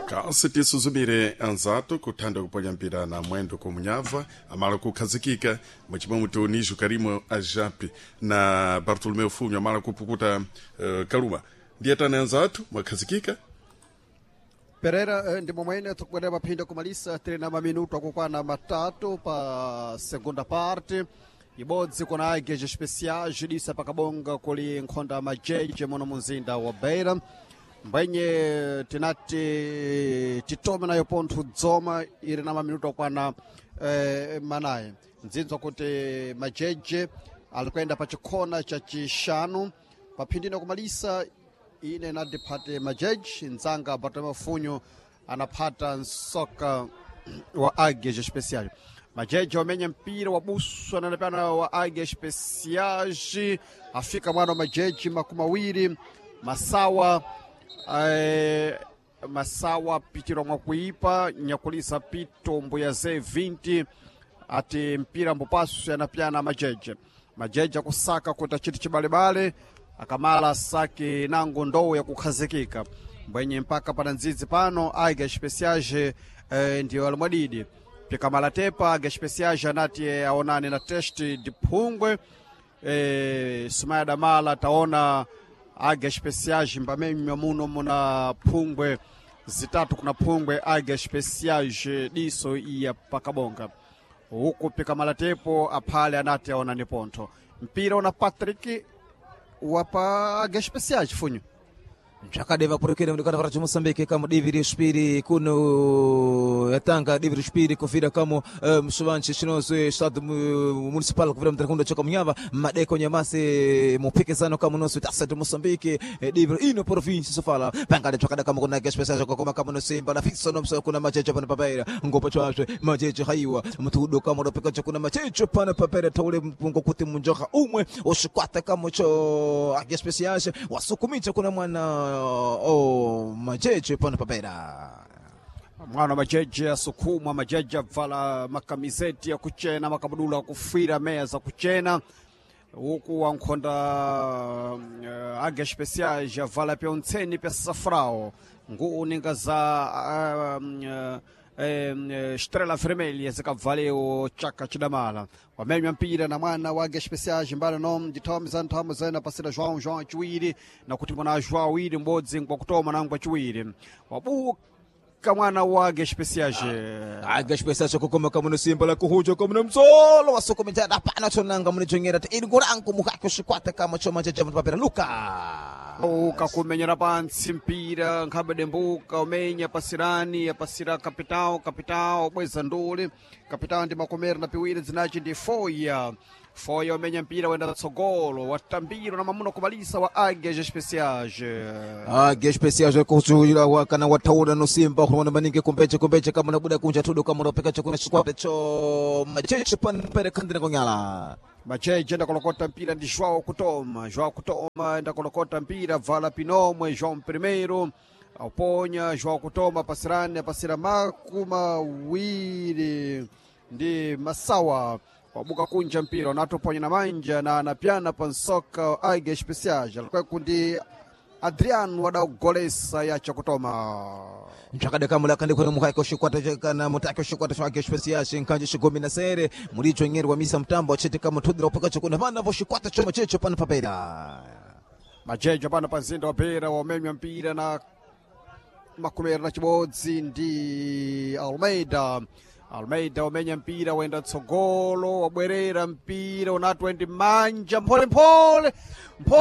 Kasi tisuzumire anzatu kuthanda kuponya mpira na mwendo kumunyava amala kukhazikika muchimwe Dionísio Karimo Ajapi na Bartolomeu Funho amala kupukuta kaluma. Ndiyetani anzatu, mwakhazikika? Pereira, ndi momwene tikubwerera maphinda kumalisa. Tili na maminuto akukwana 3 pa segunda parte. Ibodzi kuna Águias Especiais disa pakabonga kuli nkhonda majeje muno munzinda wa Beira. Mbwenye tinati titome nayo pontho dzoma ili na maminuto akwana 4. Nzinzwa kuti majeje ali kuyenda pa chikhona cha chixanu paphindina kumalisa. Ine nadiphate majeji, nzanga Bartolomeu Funho anaphata nsoka wa Águias Especiais. Majeji wamenya mpira wabuswa nanapana wa Águias Especiais. Afika mwana wa majeji 20 masawa, masawa pitiro mwa kuipa nyakulisa pito mbuya ze 20 ati mpira mbupasu yanapyana majeje. Majeje akusaka kuti achiti chibalebale akamala saki nango ndowu yakukhazikika. Mbwenye mpaka pana ndzidzi pano Águias Especiais ndiyo alimwadidi pikamala tepa. Águias Especiais anati aonane na teste de phungwe. Sumaya Damala taona Águias Especiais mbamenywa muno muna phungwe zitatu kuna phungwe. Águias Especiais diso iya pakabonga huku pikamala tepo aphale anati aonane pontho mpira una Patrick wapa Águias Especiais, Funho. Zvakadeva purukire mudikana para Moçambique kamo divi respiri kuno yatanga divi respiri kufira kamo msuvanchi chinozwe estado municipal kufira mtarakunda choka munyava madeko nyamase mupikizano kamo nosu tasa de Moçambique, divi ino província sofala pangale chakada kamo kuna especial koma kamo no simba na fiso no mso kuna machecho pana papeira ngopo chwazwe machecho haiwa mtudo kamo ropeka chakuna machecho pana papeira taule mpungo kuti munjoka umwe oshikwata kamo cho Águias Especiais wasukumicha kuna mwana o machecho pana papeira. Mwana majeje asukumwa. Majeje abvala makamizeti akuchena, makabudula akufira, meya zakuchena, huku wankhonda Águias Especiais avala pyontseni pya safrao, nguwu ninga za Estrela Vermelha zikabvalewo chaka chidamala. Wamenywa mpira na mwana wa Águias Especiais mbali no ndithome za nthamo zena pasira João, João chiwiri na kuti mwana João awiri mbodzi ngwakutoma na ngwachiwiri wabuka mwana wa Águias Especiais. Águias Especiais kukoma kamo no simba la kuhuja kamo no msolo wasukumicha dapana chonanga munichongera ti irigurangu mukako shikwata kamo choma cheche papera Luka. Ukakumenyera pantsi mpira nkhabe dembuka umenya pasirani apasira kapitao. Kapitao bweza ndule. Kapitao ndi makomera na piwiri zinachi ndi Foya. Foya umenya mpira wenda tsogolo, watambiro na mamuna kumalisa wa Águias Especiais. Águias Especiais kuchula wakana wataura no simba kuona maningi kumbeche kumbeche kama nabuda kunja tudo kama ropeka chakuna shikwata cho macheche panpere kandina konyala. Macheche ndakolokota mpira ndi João Kutoma. João Kutoma ndakolokota mpira vala pinomwe João Primeiro auponya. João Kutoma pasirani apasira 20 ndi masawa wabuka kunja mpira unatoponya na manja na anapyana pansoka Águias Especiais alikweku ndi Adriano wadagolesa yacha kutoma. Nchakada kamula kandi kuna mukaiko shikwata kana mutako shikwata cha Águias Especiais nkanje shigomi na sere mulicho ngeri wa misa mtambo achete kama tudira upaka chakuna vana vo shikwata choma checho pana papera. Majejo pano pa mzinda wa Beira wamenywa mpira na 21 ndi Almeida. Almeida wamenya mpira wenda tsogolo, wabwerera mpira unatwe ndi manja mpholemphole mpho.